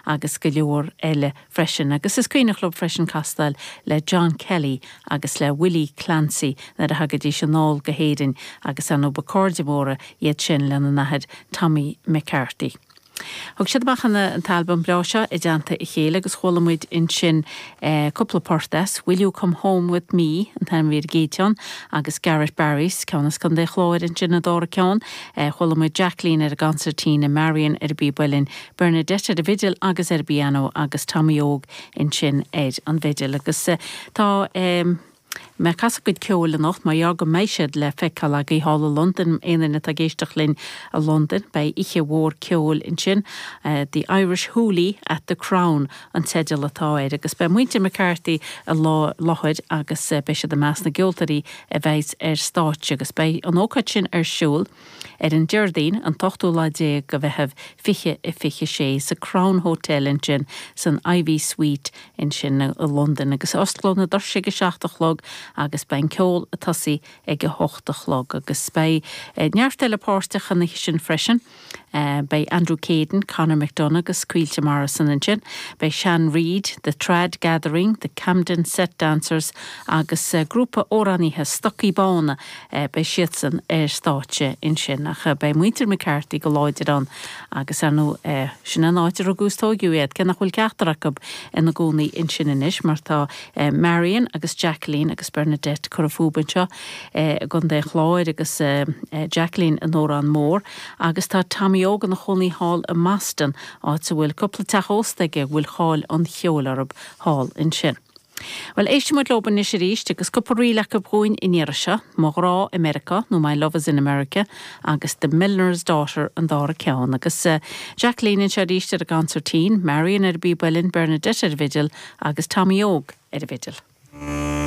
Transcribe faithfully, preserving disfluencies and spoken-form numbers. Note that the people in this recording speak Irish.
agus go leor eile freisin. Agus is cuimhneach leo freisin castáil le John Kelly agus le Willie Clancy nuair a thagaidís anall go hÉirinn agus an ba chairde móra iad sin lena n-athair Tommy McCarthy. Thug siad amach an an t-albam breá seo i dteannta a chéile agus chuala muid ansin eh, cúpla port as, Will You Come Home With Me an t-ainm ar an gcéad cheann agus Garrett Barrys ceann as Contae an Chláir ansin an dara ceann, eh, chuala muid Jacqueline ar an gconsairtín Marion ar an bpíob uilleann, Bernadette ar an bhfidil agus ar an bpianó agus Tommy Óg ansin ar an bhfidil agus eh, tá um, Mé ag casadh a gcuid ceoil anocht mar go mbeidh siad le feiceáil agaibh thall i Londain aon duine atá ag éisteacht linn i Londain, beidh oíche mhór ceoil ansin uh, The Irish Hoolie at the Crown an teideal atá air agus beidh muintir McCarthy i láthair agus uh, beidh siad i measc na gceoltóirí a bheidh ar stáitse agus beidh an ócáid sin ar siúl ar an Déardaoin an t-ochtú lá déag de Mheitheamh fiche a fiche sé sa Crown Hotel ansin san Ivy Suite ansin i Londain agus osclóidh na doirse ag a seacht a chlog agus beidh ceol ag tosú ag a hocht a chlog agus beidh eh, neart eile páirteach an sin freisin. Uh, beidh Andrew Caden, Conor McDonough agus Caoilte Morrison ansin, beidh Sean Reid, The Trad Gathering, The Camden Set Dancers agus uh, grúpa amhránaithe Stocaí Bána uh, beidh siadsan ar stáitse ansin ach uh, beidh muintir McCarthy go láidir ann agus ar ndóigh uh, sin an áit ar rugadh is tógadh iad cé nach bhfuil ceachtar acu ina gcónaí ansin anois mar tá uh, Marion agus Jacqueline agus Bernadette curtha fúthu anseo uh, gContae an Chláir agus uh, uh, Jacqueline in Órán Mór agus tá Tommy Óg ina chónaí thall i mBoston áit a bhfuil cúpla teach ósta aige bhfuil cháil an cheoil orthu thall ansin. Well éistfimid leo anois arís agus cúpla ríl acu dhúinn in seo, Mo Ghrá i Meiriceá nó My Love is in America agus The Miller's Daughter an dara ceann agus uh, Jacqueline anseo arís ar an gconsairtín, Marion ar an bpíob uilleann Bernadette ar an bhfidil agus Tommy Óg ar an bhfidil.